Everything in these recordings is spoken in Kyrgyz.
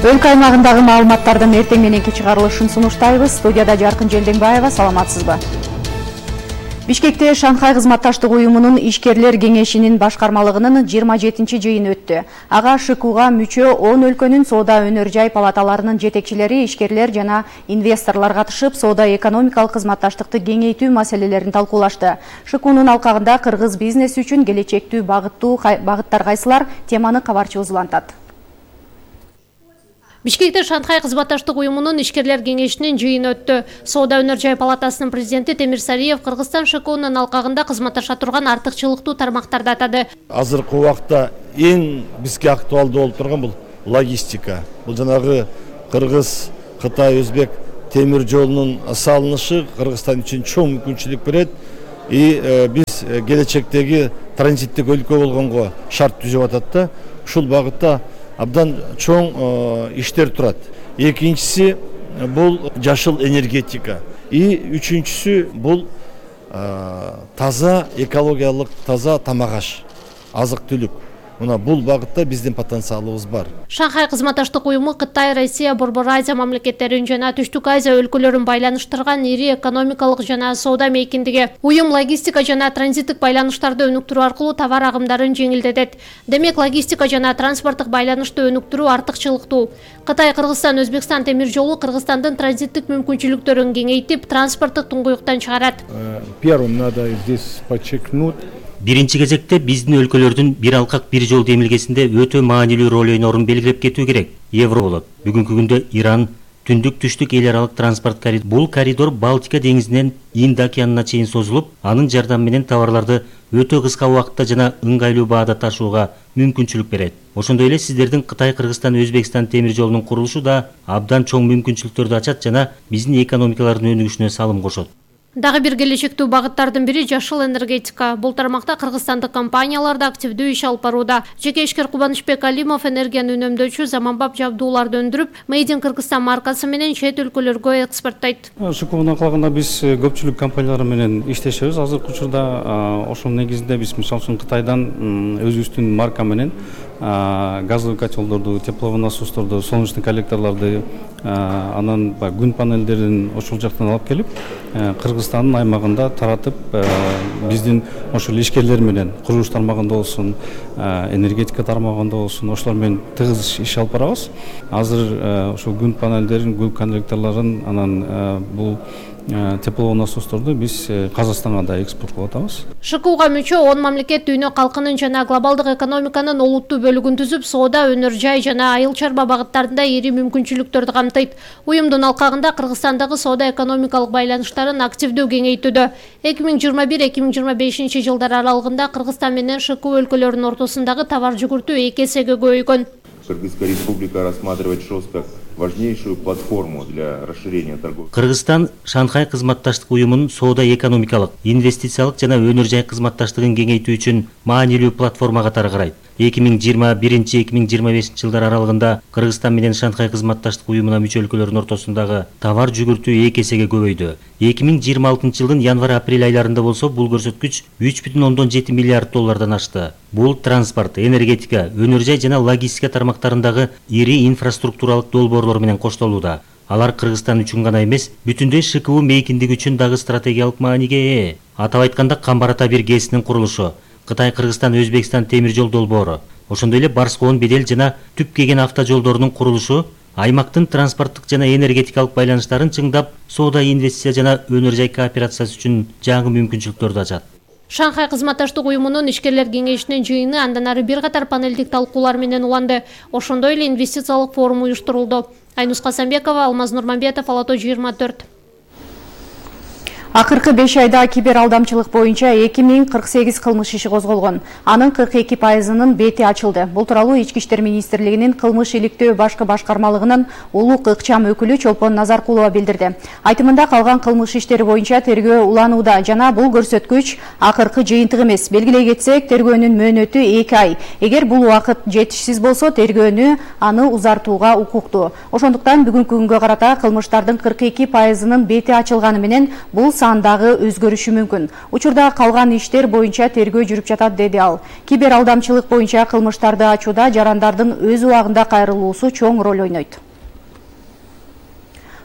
Өлкө аймагындагы маалыматтардын эртең мененки чыгарылышын сунуштайбыз. Студияда Жаркын Желденбаева, саламатсызбы? Бишкекте Шанхай кызматташтык уюмунун ишкерлер кеңешинин башкармалыгынын 27-чи жыйыны өттү. Ага ШКУга мүчө 10 өлкөнүн соода өнөр жай палаталарынын жетекчилери, ишкерлер жана инвесторлор катышып, соода-экономикалык кызматташтыкты кеңейтүү маселелерин талкуулашты. ШКУнун алкагында кыргыз бизнеси үчүн келечектүү багыттар кайсылар? Теманы кабарчыбыз улантат. Бишкекте Шанхай кызматташтык уюмунун ишкерлер кеңешинин жыйыны өттү. Соода өнөр жай палатасынын президенти Темир Сариев Кыргызстан ШКУнун алкагында кызматташа турган артыкчылыктуу тармактарды атады. Азыркы убакта эң бизге актуалдуу болуп турган бул логистика. Бул жанагы Кыргыз, Кытай, Өзбек темир жолунун салынышы Кыргызстан үчүн чоң мүмкүнчүлүк берет. Биз келечектеги транзиттик өлкө болгонго шарт түзүп атат да. Ушул багытта абдан чоң иштер турат. Экинчиси бул жашыл энергетика. Үчүнчүсү бул таза экологиялык таза тамак аш, азык-түлүк. Мына бул багытта биздин потенциалыбыз бар. Шанхай кызматташтык уюму Кытай, Россия, Борбор Азия мамлекеттерин жана Түштүк Азия өлкөлөрүн байланыштырган ири экономикалык жана соода мейкиндиги. Уюм логистика жана транзиттик байланыштарды өнүктүрүү аркылуу товар агымдарын жеңилдетет. Демек, логистика жана транспорттук байланышты өнүктүрүү артыкчылыктуу. Кытай, Кыргызстан, Өзбекстан темир жолу Кыргызстандын транзиттик мүмкүнчүлүктөрүн кеңейтип, транспорттук туңгуюктан чыгарат. Первым надо здесь подчеркнуть. Биринчи кезекте биздин өлкөлөрдүн бир алкак бир жол демилгесинде өтө маанилүү роль ойнорун белгилеп кетүү керек. Евро болот. Бүгүнкү күндө Иран түндүк-түштүк эл аралык транспорт коридор. Бул коридор Балтика деңизинен Инд океанына чейин созулуп, анын жардамы менен товарларды өтө кыска убакытта жана ыңгайлуу баада ташууга мүмкүнчүлүк берет. Ошондой эле сиздердин Кытай, Кыргызстан, Өзбекстан темир жолунун курулушу да абдан чоң мүмкүнчүлүктөрдү ачат жана биздин экономикалардын өнүгүшүнө салым кошот. Дагы бир келечектүү багыттардын бири жашыл энергетика. Бул тармакта кыргызстандык компаниялар да активдүү иш алып барууда. Жеке ишкер Кубанычбек Алимов энергияны үнөмдөөчү заманбап жабдууларды өндүрүп, Made in Кыргызстан маркасы менен чет өлкөлөргө экспорттойт. ШКУнун алкагында биз көпчүлүк компаниялар менен иштешебиз. Азыркы учурда ошонун негизинде биз мисалы үчүн Кытайдан өзүбүздүн марка менен газовый котелдорду, тепловой насосторду, солнечный коллекторлорду, анан күн панелдерин ошол жактан алып келип, Кыргызстандын аймагында таратып, биздин ошол ишкерлер менен курулуш тармагында болсун, энергетика тармагында болсун, ошолор менен тыгыз иш алып барабыз. Азыр ошол күн панелдерин, күн коллекторлорун, анан бул тепловой насосторду биз Казакстанга да экспорт кылып атабыз. ШКУга мүчө 10 мамлекет дүйнө калкынын жана глобалдык экономиканын олуттуу бөлүгүн түзүп, соода, өнөр жай жана айыл чарба багыттарында ири мүмкүнчүлүктөрдү камтыйт. Уюмдун алкагында Кыргызстандагы соода-экономикалык байланыштарын активдүү кеңейтүүдө. 2021-2025 жылдар аралыгында Кыргызстан менен ШКУ өлкөлөрүнүн ортосундагы товар жүгүртүү 2 эсеге көбөйгөн. Кыргызская республика рассматривает ШОС как важнейшую платформу для расширения торговли. Кыргызстан Шанхай кызматташтык уюмунун соода-экономикалык, инвестициялык жана өнөр жай кызматташтыгын кеңейтүү үчүн маанилүү платформа катары карайт. 2021-2025 жылдар аралыгында Кыргызстан менен Шанхай кызматташтык уюмуна мүчө өлкөлөрдүн ортосундагы товар жүгүртүү 2 эсеге көбөйдү. 2026 жылдын январь-апрель айларында болсо бул көрсөткүч 3,7 миллиард доллардан ашты. Бул транспорт, энергетика, өнөр жай жана логистика тармактарындагы ири инфраструктуралык долбоорлор менен коштолууда. Алар Кыргызстан үчүн гана эмес, бүтүндөй ШКУ мейкиндиги үчүн дагы стратегиялык мааниге ээ. Атап айтканда, Камбар ата бир ГЭСинин курулушу, Кытай, Кыргызстан, Өзбекстан темир жол долбоору, ошондой эле Барскоон, Бедел жана Түп кеген автожолдорунун курулушу аймактын транспорттук жана энергетикалык байланыштарын чыңдап, соода, инвестиция жана өнөр жай кооперациясы үчүн жаңы мүмкүнчүлүктөрдү ачат. Шанхай кызматташтык уюмунун ишкерлер кеңешинин жыйыны андан ары бир катар панелдик талкуулар менен уланды. Ошондой эле инвестициялык форум уюштурулду. Айнус Касамбекова, Алмаз Нурманбетов, Алато 24. Акыркы 5 айда кибер алдамчылык боюнча 2048 кылмыш иши козголгон. Анын 42%-нын бети ачылды. Бул тууралуу Ички иштер министрлигинин кылмыш иликтөө башкы башкармалыгынын улук ыкчам өкүлү Чолпон Назаркулова билдирди. Айтымында калган кылмыш иштери боюнча тергөө уланууда жана бул көрсөткүч акыркы жыйынтык эмес. Белгилей кетсек, тергөөнүн мөөнөтү 2 ай. Эгер бул убакыт жетишсиз болсо, тергөөнү аны узартууга укуктуу. Ошондуктан бүгүнкү күнгө карата кылмыштардын 42%-нын бети ачылганы менен бул андагы өзгөрүшү мүмкүн. Учурда калган иштер боюнча тергөө жүрүп жатат, деди ал. Кибер алдамчылык боюнча кылмыштарды ачууда жарандардын өз убагында кайрылуусу чоң роль ойнойт.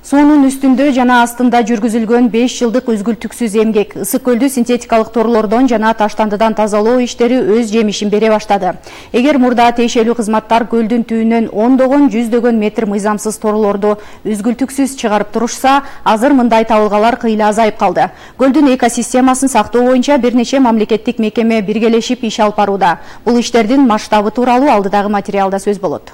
Суунун үстүндө жана астында жүргүзүлгөн 5 жылдык үзгүлтүксүз эмгек Ысык көлдү синтетикалык торлордон жана таштандыдан тазалоо иштери өз жемишин бере баштады. Эгер мурда тиешелүү кызматтар көлдүн түбүнөн ондогон, жүздөгөн метр мыйзамсыз торлорду үзгүлтүксүз чыгарып турушса, азыр мындай табылгалар кыйла азайып калды. Көлдүн экосистемасын сактоо боюнча бир нече мамлекеттик мекеме биргелешип иш алып барууда. Бул иштердин масштабы тууралуу алдыдагы материалда сөз болот.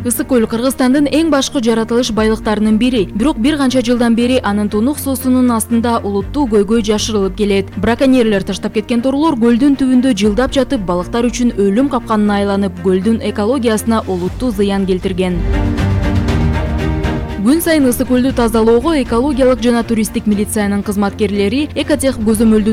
Ысык көл Кыргызстандын эң башкы жаратылыш байлыктарынын бири. Бирок бир канча жылдан бери анын тунук суусунун астында улуттуу көйгөй жашырылып келет. Браконьерлер таштап кеткен торлор көлдүн түбүндө жылдап жатып, балыктар үчүн өлүм капканына айланып, көлдүн экологиясына олуттуу зыян келтирген. Күн сайын Ысык көлдү тазалоого экологиялык жана туристтик милициянын кызматкерлери Экотех көзөмөлдүн